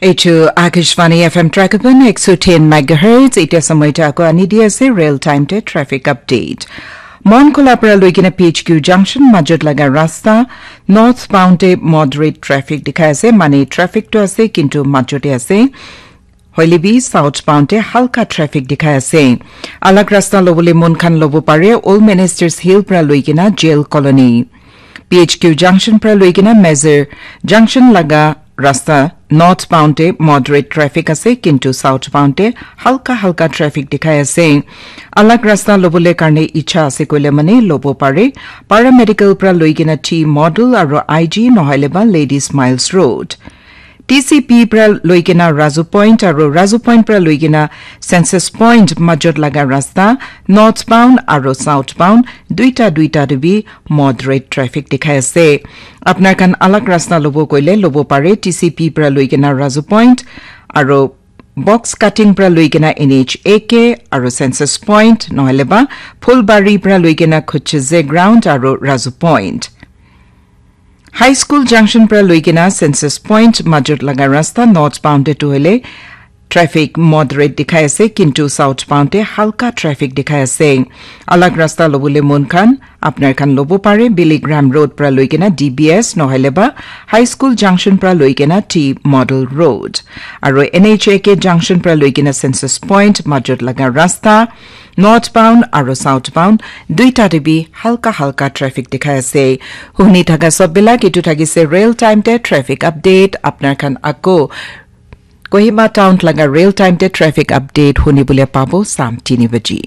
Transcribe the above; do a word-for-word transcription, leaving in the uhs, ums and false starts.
Eitu Akashvani F M Trakapan ek so ten megahertz, ite samay ta ako ani di ase real time te traffic update. Mon Khola pra loikena P H Q junction majot laga rasta northbound te moderate traffic dikhai ase, mane traffic to ase kintu majot te ase. Hoile bi southbound te halka traffic dikhai ase. Alag rasta lobole mon khan lobo pare Old Ministers Hill pra loikena Jail Colony. P H Q junction pra loikena Mazar junction laga rasta northbound te moderate traffic ase, kintu southbound te halka halka traffic dikhai ase. Alag rasta lobole karne icha ase koile mane lobo pare. Paramedical pra loikena T Model aro I G nohoile ba Ladies Miles Road. T C P pra loikena Razu Point aro Razu Point pra loikena Census Point majot laga rasta northbound aro southbound duita duita te bi moderate traffic dikhai ase. Apnar khan alag rasta lobo koile lobo pare T C P pra loikena Razu Point aro box cutting pra loikena N H A K aro Census Point nohoile ba Phulbari pra loikena Khucheze Ground aro Razu Point. High School junction pra loikena Census Point majot laga rasta northbound te tu hoile traffic moderate dikhai ase, kintu southbound te halka traffic dikhai ase. Alag rasta lobole mon khan apnar khan lobo pare Billy Graham Road pra loikena D B S nohoile ba High School junction pra loikena T Model Road. Aro N H A K junction pra loikena Census Point majot laga rasta northbound aro southbound duita te bi halka halka traffic dikhai ase. Huni thaka sob bilak itu thakise real time te traffic update. Apnar khan ako Kohima town laga real time te traffic update huni bole pabo sam tini baji.